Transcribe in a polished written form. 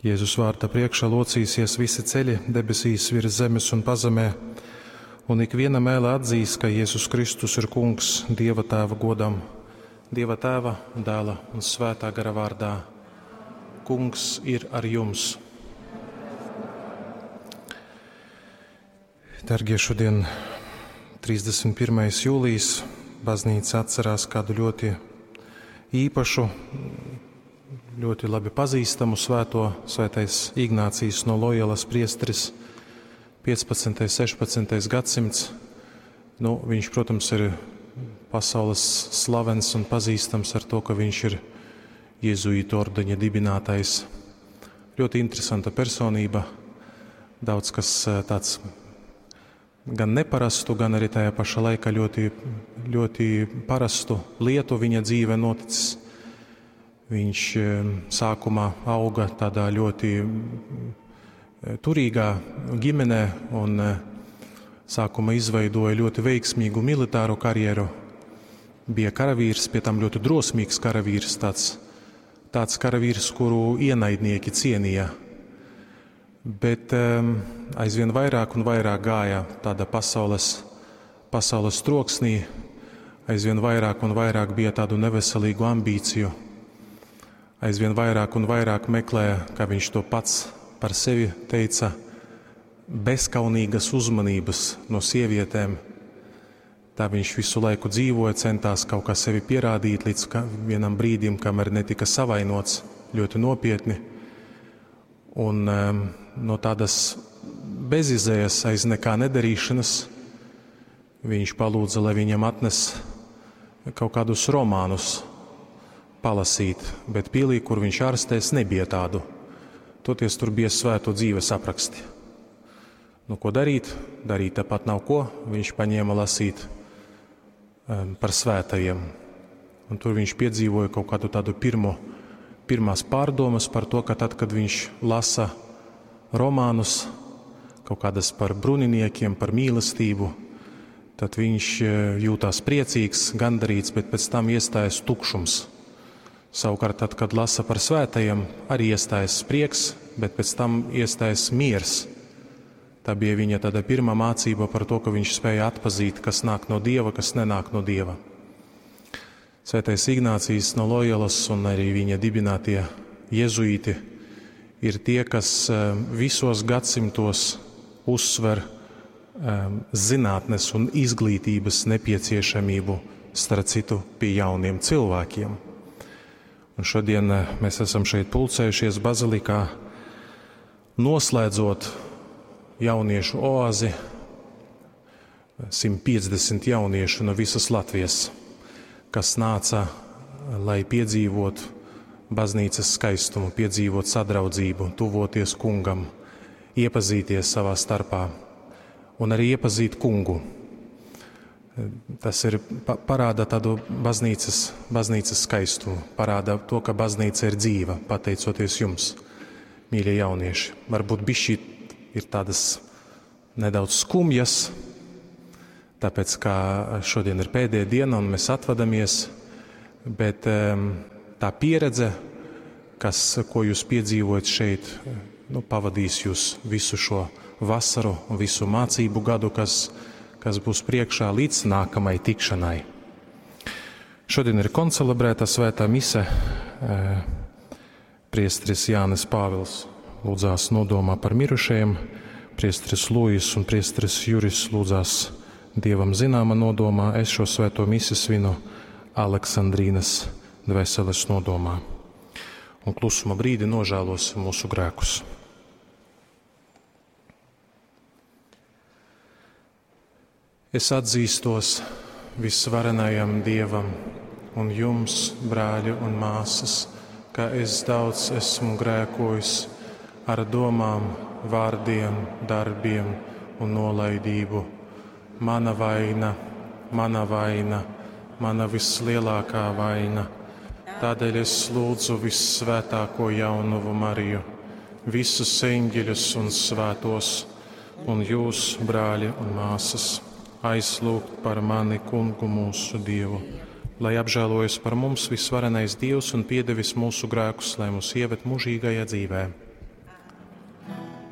Jēzus vārda priekšā locīsies visi ceļi debesīs, virs zemes un pazemē, un ikviena mēle atzīs, ka Jēzus Kristus ir Kungs Dieva Tēva godam, Dieva Tēva, Dēla un Svētā gara vārdā. Kungs ir ar jums! Dargie, šodien 31. jūlijas baznīca atcerās kādu ļoti īpašu, ļoti labi pazīstamu svēto, svētais Ignācijs no Loyolas priesteris, 15. 16. gadsimts. Nu, viņš, protams, ir pasaules slavens un pazīstams ar to, ka viņš ir jēzuītu ordeņa dibinātājs. Ļoti interesanta personība, daudz kas tāds gan neparastu, gan arī tajā pašā laikā ļoti, ļoti parastu lietu viņa dzīve noticis. Viņš sākumā auga tādā ļoti turīgā ģimenē un sākumā izveidoja ļoti veiksmīgu militāru karjeru. Bija karavīrs, pie tam ļoti drosmīgs karavīrs, tāds karavīrs, kuru ienaidnieki cienīja. Bet aizvien vairāk un vairāk gāja tāda pasaules troksnī, aizvien vairāk un vairāk bija tādu neveselīgu ambīciju, aizvien vairāk un vairāk meklēja, kā viņš to pats par sevi teica, bezkaunīgas uzmanības no sievietēm. Tā viņš visu laiku dzīvoja, centās kaut kā sevi pierādīt līdz vienam brīdim, kamēr netika savainots ļoti nopietni. Un no tādas bezizējas aiz nekā nedarīšanas viņš palūdza, lai viņam atnes kaut kādus romānus palasīt, bet pilī, kur viņš ārstēs, nebija tādu. Toties tur bija svēto dzīves apraksti. Nu, ko darīt? Darīt tāpat nav ko. Viņš paņēma lasīt par svētajiem. Un tur viņš piedzīvoja kaut kādu tādu pirmās pārdomas par to, ka tad, kad viņš lasa romānus, kaut kādas par bruņiniekiem, par mīlestību, tad viņš jūtās priecīgs, gandarīts, bet pēc tam iestājas tukšums. Savukārt, tad, kad lasa par svētajiem, arī iestājas prieks, bet pēc tam iestājas miers. Tā bija viņa tāda pirmā mācība par to, ka viņš spēja atpazīt, kas nāk no Dieva, kas nenāk no Dieva. Svētais Ignācijs no Loyolas un arī viņa dibinātie jezuīti ir tie, kas visos gadsimtos uzsver zinātnes un izglītības nepieciešamību, starp citu, pie jauniem cilvēkiem. Un šodien mēs esam šeit pulcējušies bazilikā, noslēdzot jauniešu oāzi, 150 jauniešu no visas Latvijas, kas nāca, lai piedzīvotu baznīcas skaistumu, piedzīvot sadraudzību, tuvoties kungam, iepazīties savā starpā un arī iepazīt kungu. Tas ir parāda tādu baznīcas skaistumu, parāda to, ka baznīca ir dzīva, pateicoties jums, mīļie jaunieši. Varbūt bišķi ir tādas nedaudz skumjas, tāpēc kā šodien ir pēdējā diena un mēs atvadamies, bet tā pieredze, ko jūs piedzīvojat šeit, pavadīs jūs visu šo vasaru un visu mācību gadu, kas būs priekšā līdz nākamai tikšanai. Šodien ir koncelebrēta svētā mise. Priesteris Jānis Pāvils lūdzās nodomā par mirušajiem, priesteris Lūjis un priesteris Juris lūdzās Dievam zināma nodomā. Es šo svēto misi svinu Aleksandrīnas dvēseles nodomā. Un klusuma brīdi nožēlosim mūsu grēkus. Es atzīstos visvarenajam Dievam un jums, brāļi un māsas, ka es daudz esmu grēkojis ar domām, vārdiem, darbiem un nolaidību. Mana vaina, mana vaina, mana vislielākā vaina. Tādēļ es lūdzu vissvētāko jaunavu Mariju, visus eņģeļus un svētos, un jūs, brāļi un māsas, aizlūgt par mani kungu mūsu Dievu, lai apžēlojas par mums visvarenais Dievs un piedevis mūsu grēkus, lai mūs ieved mūžīgajā dzīvē.